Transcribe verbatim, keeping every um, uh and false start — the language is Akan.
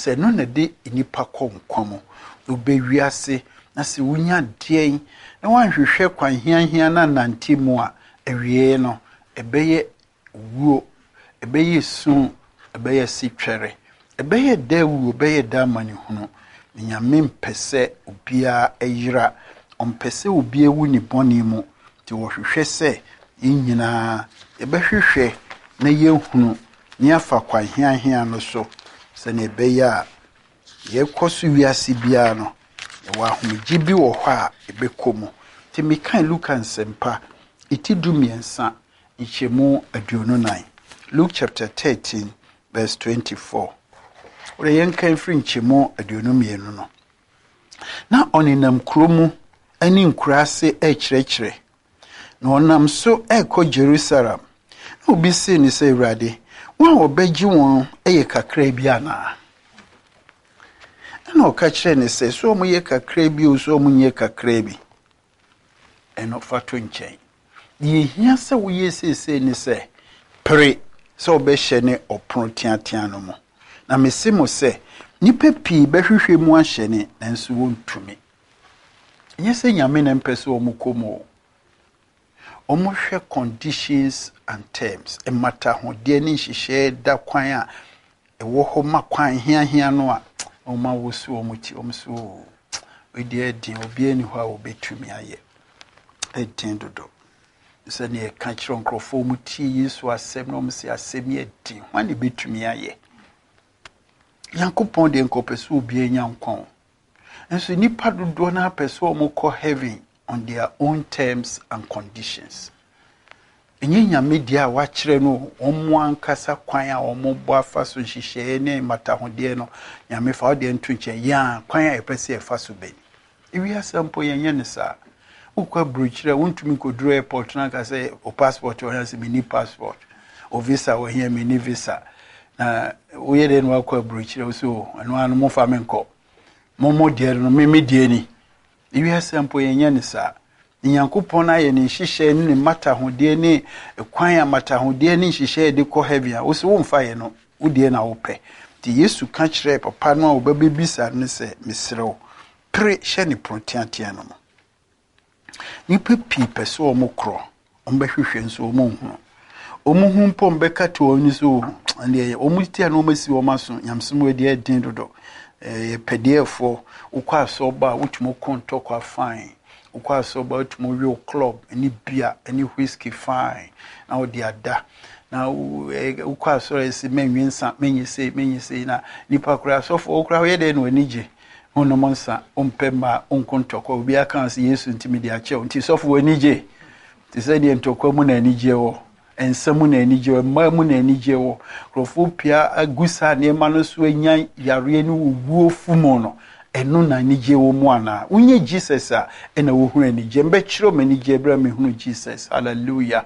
Sɛ ɛno na ɛde nnipa kɔ nkwa mu. Wobɛ wiase na sɛ wonya deɛn na woanhwehwɛ kwan hiahia na nante mu a, awie no ɛbɛyɛ wuo, ɛbɛyɛ su, ɛbɛyɛ sitwɛre, ɛbɛyɛ da wuo, ɛbɛyɛ da amanehunu. Nyame mpɛ sɛ obiara ɛyera, ɔmpɛ sɛ obiara wu ne bɔne mu. Nti wɔhwehwɛ sɛ yɛn nyinaa yɛbɛhwehwɛ na yɛhunu na yɛafa kwan hiahia no so sɛnea ɛbɛyɛ a yɛkɔ so wiase biara no, yɛwɔ ahomegye bi wɔ hɔ a ɛbɛkɔ mu. Nti mekan Luka Nsɛmpa eti du mmiɛnsa nkyɛmu aduonu nan. Luke chapter thirteen verse twenty-four. Wɔde yɛnkan firi nkyɛmu aduonu mmienu no. Na ɔnenam kuro mu ne nkuraase rekyerɛkyerɛ. Na ɔnam so rekɔ Jerusalem. Na obi see no sɛ, Awurade, wɔn a wɔbɛgye wɔn yɛ kakra bi anaa? Ɛna ɔka kyerɛɛ no sɛ, sɛ wɔyɛ kakra bi o, sɛ wɔnyɛ kakra bi, ɛno fa to nkyɛn. Deɛ ehia sɛ woyɛ seesei ne sɛ, pere sɛ wobɛhyɛ ne ɔpono teatea no mu. Na mese mo sɛ, nnipa pii bɛhwehwɛ mu ahyɛ ne, nanso wɔntumi. Ɛnyɛ sɛ Nyame na mpɛ sɛ wɔn kɔ mu o. Wɔhwɛ conditions and terms, mmatahodeɛ ne nhyehyɛeɛ da kwan a ɛwɔ hɔ ma kwan hiahia no a, wɔn awoso wɔn ti, wɔn so o, wei deɛ ɛden, obiara nni hɔ a wɔbɛtumi ayɛ. Ɛden dodo. Sɛnea yɛka kyerɛ nkurɔfoɔ, wɔn tie Yesu asɛm na wɔn sɛ asɛm yɛ den, hwan na ɛbɛtumi ayɛ? Nyankopɔn deɛ nka ɔpɛ sɛ obiara nya nkwa o. Nso nnipa dodoɔ no apɛ sɛ wɔn kɔ heaven on their own terms and conditions. Ɛnyɛ Nyame deɛ a wakyerɛ no wɔn ankasa kwan a wɔn bɔ afa so nhyehyɛeɛ ne mmatahodeɛ no, Nyame fa wo deɛ nto nkyɛn, yɛn a kwan a yɛpɛ sɛ yɛfa so bɛni. Ewiase mpo yɛnyɛ ne saa. Wokɔ aburokyire a wontumi nkɔduru airport na aka sɛ o passport wɔ hɛ, sɛ menni passport, o visa wɔ hɛ, menni visa. Na woyɛ dɛ na wakɔ aburokyire wo so ɛno ano momfa me nkɔ. Mo mo deɛ no me me deɛ ni. Ewiase mpo yɛnyɛ ne saa. Nyankopɔn ayɛ ne nhyehyɛe ne ne mmatahodeɛ ne kwan a mmatahodeɛ ne nhyehyɛe de kɔ heaven a wo sɛ womfa yɛ no, wo deɛ na wopɛ. Nti Yesu ka kyerɛɛ papa no a wɔbɛbɛbisa no sɛ, mesrɛ wo, pere hyɛ ne pono teatea no mu. Nnipa pii pɛ sɛ wɔn korɔ, wɔn bɛhwehwɛ nso wɔn nhunu. Wɔn ho mpo wɔn to wɔn ani so, ɛndeɛ wɔn ti a na wɔn asi wɔn aso, nyamesɛm wɔ deɛ ɛden dodo. Ɛyɛ pɛdeɛfoɔ, wokɔ asɔreba a wotumi kɔ ntɔkwa fine. Wokɔ asɔreba a wotumi we club ne beer ne whiskey fine na wode ada. Na wokɔ asɔre a ɛsɛ mɛnwe nsa, mɛnyɛ sei, mɛnyɛ sei na nipa koraa asɔfoɔ wo koraa woyɛ dɛn na w'ani gye. Wonom nsa, wompɛ mmaa, wonko ntɔkwa. Obiara ka sɛ Yesu nti mede akyɛ wo. Nti sɔfo w'ani gye. Te sɛ deɛ ntɔkwa mu na anigye wɔ. Nsa mu na anigye wɔ, mmaa mu na anigye wɔ. Nkurɔfoɔ pia agu saa nneɛma no so anya yareɛ ne owuo fu mu no, ɛno na anigye wɔ mu anaa? Wonyɛ Jesus a, ɛna wohunu anigye. Mbɛkyerɛ wo anigye berɛ a mehunu Jesus. Hallelujah.